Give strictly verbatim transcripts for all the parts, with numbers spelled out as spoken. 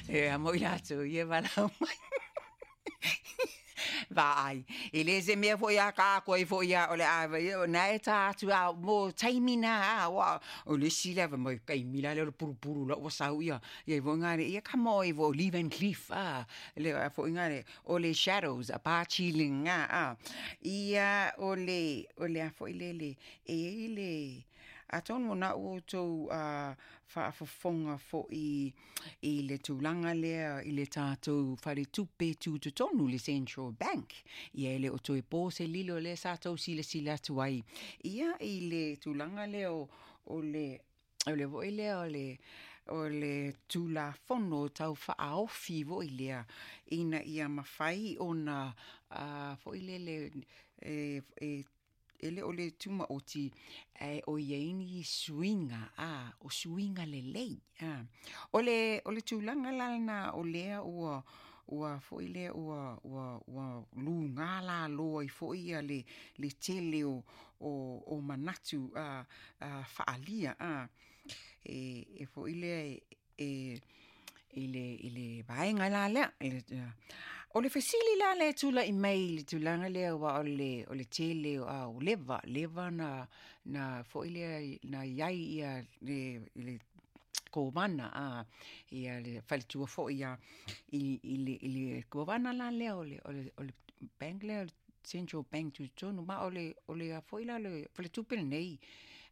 E amo i latou ia e valaau mai. Vaai, e le se mea foi a kākou ai foi a o le a o na e tā atu a mo taimi na a ua o le isi lea fai mai taimi la lea o le pulupulu la ua sau ia ia foi ngale ia come on i vo Lee Van Cleef a le foi ngale o le Shadows a pa chilling a a ia o le o le a foi le le e i le atonu na ua outou uh, faafofoga foi i le tulaga lea i le tatou faletupe tutotonu, le Central Bank. Ia e le o toe po se lilo lea sa tou silasila atu ai. Ia i le tulaga lea o, o le o le foi lea o le o le tulafono tau faaofi foi lea ina ia mafai ona uh, foi lele e, e e le o le tumaoti e o i ai ni suiga a o suiga lelei a o le o le tulaga la lena o lea ua ua foi lea ua ua ua lugā lalo ai foi ia le le tele o o o manatu a a faaalia a e e foi lea e e i le i le vaega la lea. O le fesili la lea e tula'i mai i le tulaga lea ua o le o le tele a o leva leva na na foi lea na i ai ia le le kovana a ia le faletua foi ia i i le i le kovana la lea o le o le o le bank lea o le Central Bank tutotonu ma o le o le a foi la le faletupe lenei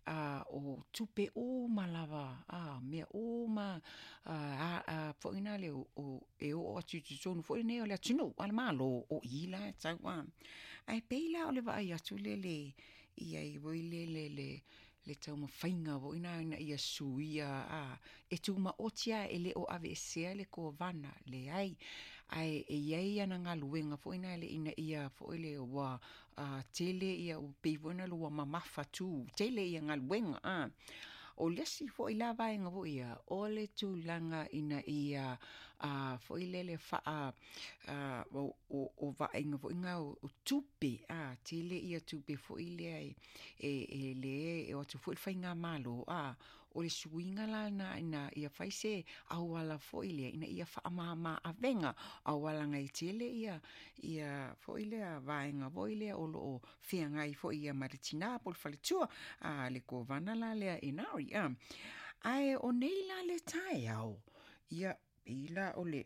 a o tupe uma lava a mea uma a a foi na le o e oo atu i totonu foi lenei o le atunuu a le Malo o i la e tau a. Ae pei la o le vaai atu le le ia i foi le le le le taumafaiga foi na ina ia suia a e tumaoti a e le o aveesea le kovana leai ae e i ai ana galuega foi na le ina ia foi le ua uh, tele ia ua pei foi na ua mamafa tu tele ia galuega a. O le isi foi la vaega foi ia o le tulaga ina ia uh, foi lele faa uh, o, o, o vaaiga foi ngā o, o tupe a tele ia tupe foi lea e e, e le e o atu foi le faigamalo a o le suiga la na ina ia fai se auala foi lea ina ia faamama avega auala e tele ia ia foi lea vaega foi lea o loo feagai foi ia ma le tinā po o le faletua a le kovana la lea e nari a. Ae o nei la le taeao ia pei la o le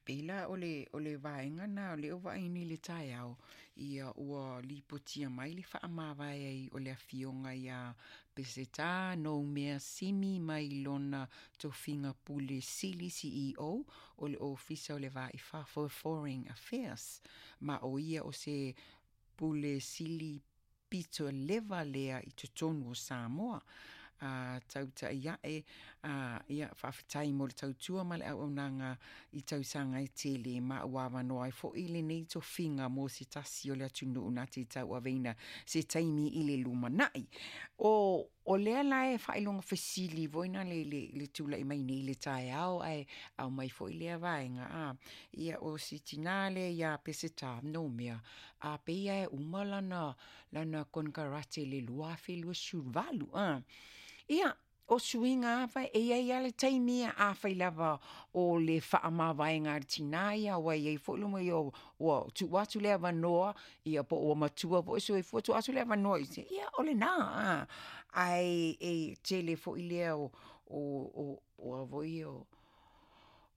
pei la o le o le vaega na o lea ua vaai nei i le taeao ia ua lipotia mai le faamavae ai o le afioga ia Peseta Noumea Simi mai lona tofiga Pule Sili C E O o le Ofisa o le Va i Fafo, Foreign Affairs, ma o ia o se Pule Sili pito leva lea i totonu o Samoa a tautai ae a ia faafetai mo le tautua ma le auaunaga i tausaga e tele ma ua avanoa ai foi lenei tofiga mo se tasi o le atunuu na te tauaveina se taimi i le lumanai. O o lea la e faailoga fesili foi na le le le tula'i mai nei le taeao ae aumai foi lea vaega a ia o si tinā lea iā Peseta Noumea a peia e uma lana lana konekarate i le lua afe luasefulu valu a. Ia o suiga afa e iai a le taimi afai lava o le faamavaega a le tinā ia ua iai foi luma ia ua tuu atu le avanoa ia po ua matua foi soifua tuu atu le avanoa i se ia o lenā a ae e tele foi lea o o o o a foi o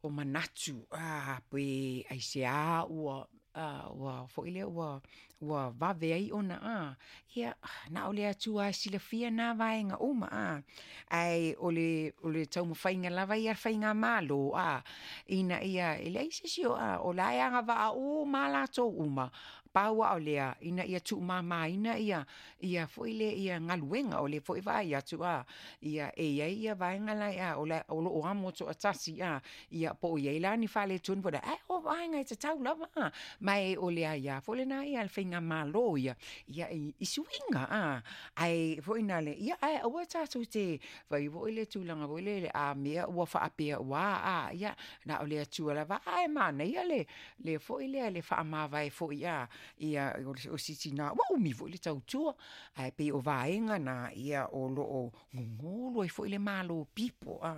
o manatu a pe aiseā ua a ua foi lea ua ua vave ai ona a ia na o le Atua e silafia na vaega uma a ae o le o le taumafaiga lava ia faigamalo a ina ia e leai se isi o a o la e agavaa uma latou uma pau a o lea ina ia tuumamaina ia ia foi le ia galuega o le foi vaai atu a ia e iai ia vaega la a o le o loo amo toatasi a ia po o iai la ni faaletonu po ae o vaega e tatau lava a ma e o le aiā foi lena ia le faigamalo ia ia i, i suiga a ae foi na le ia ae aua tatou te fai foi le tulaga foi le a mea ua faapea ua a ia na o le Atua lava ae manaia le le foi lea le faamavae foi a ia o si tinā ua umi foi le tautua ae pei o vaega na ia o loo gogolo ai foi le malo pipo a.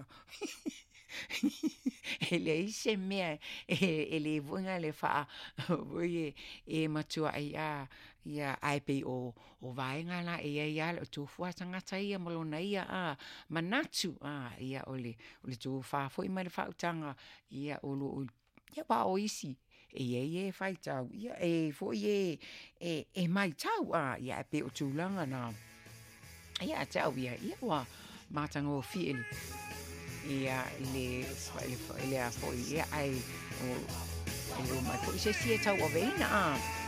E leai se mea e e lē foʻi le faa foi e e matuai a ia ae pei o o vaega la e iai a le tofu a tagata ia ma lona ia a manatu a ia o le o le tofa foi ma le faautaga ia o loo ia aua o isi e iai e faitau ia e foi e e e matau a ia ae pei o tulaga na ia te au ia ia ua matagofie le ia le le le a foi ia ae o e le o mai foi se isi e tauaveina a.